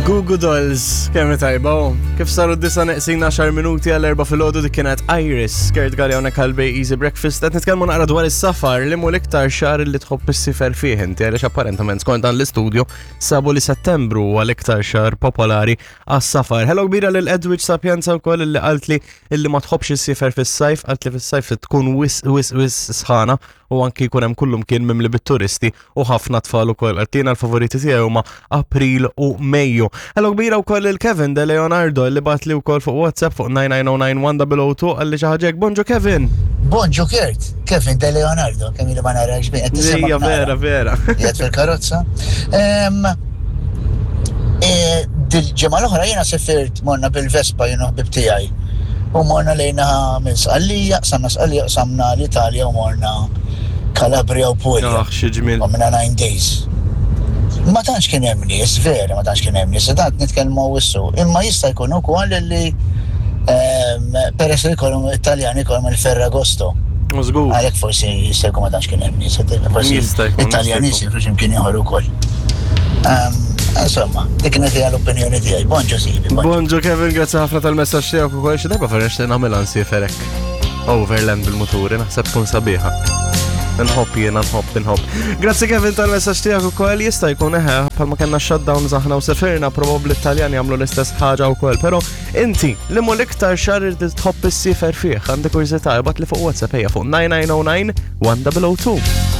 Google Dolls, kemm tajba, oh. Kif saru d-disa neqsin 10 minuti għal erba filgħodu dik kienet Iris, Kurt Galli hawnhekk għal Bay Easy Breakfast, qed nitkellmu naqra dwar is-safar li mu l-iktar xahar li tħobb issifer fih inti għaliex apparentament skont dan l-istudju sabu li Settembru huwa l-iktar xahar popolari għas-safar. Hello kbira lil Edwidge Sapienza wkoll li qaltli illi ma tħobbx issifer fis-sajf, qaltli fis-sajf tkun wis wis wis sħana u anki jkun hemm kullum kien mimli bit-turisti u ħafna tfal ukoll. Għattina l-favoriti tiegħi huma April u Mejju. Hello kbira wkoll il-Kevin De Leonardo li bat li wkoll fuq WhatsApp fuq 9909102 għalli xi ħaġa Bonġu Kevin. Bonġu Kurt, Kevin De Leonardo, kemm ili ma narakx bejn. Ija vera vera. Jgħid fil-karozza. E, dil-ġimgħa l-oħra jiena sifirt morna bil-Vespa jien u ħbib tiegħi. U morna lejna minn Sqallija, qsamna Sqallija, qsamna l-Italja u morna Calabria u Puglia. Ah, xi ġmiel. Għamilna 9 days. Ma tantx kien hemm nies, vera, ma tantx kien hemm nies, tant nitkellmu wissu. Imma jista' jkun ukoll li ehm, peress li jkollhom Italjani jkollhom il-Ferragosto. Żgur. Għalhekk forsi jista' jkun ma tantx kien hemm nies, forsi Jista' jkun, Italjani jista' jkun. jsiru x'imkien ieħor ukoll. Ehm, Insomma, dik kienet hija l-opinjoni tiegħi. Bonġu sibi. Bonġu Kevin, grazzi ħafna tal-messaġġ tiegħek ukoll xi darba vera nixtieq nagħmilha nsiefer hekk. Overland bil-muturi, naħseb tkun sabiħa. Nħobb jiena, nħobb, nħobb. Grazzi Kevin tal-messaġġ tiegħek ukoll jista' jkun eħe bħalma kellna shutdown aħna u sefirna probabbli t-Taljan jagħmlu l-istess ħaġa wkoll, però inti li mu l-iktar xahar irid tħobb issifer fih, għandi kurżità ibgħat li fuq WhatsApp ejja fuq 9909 1002.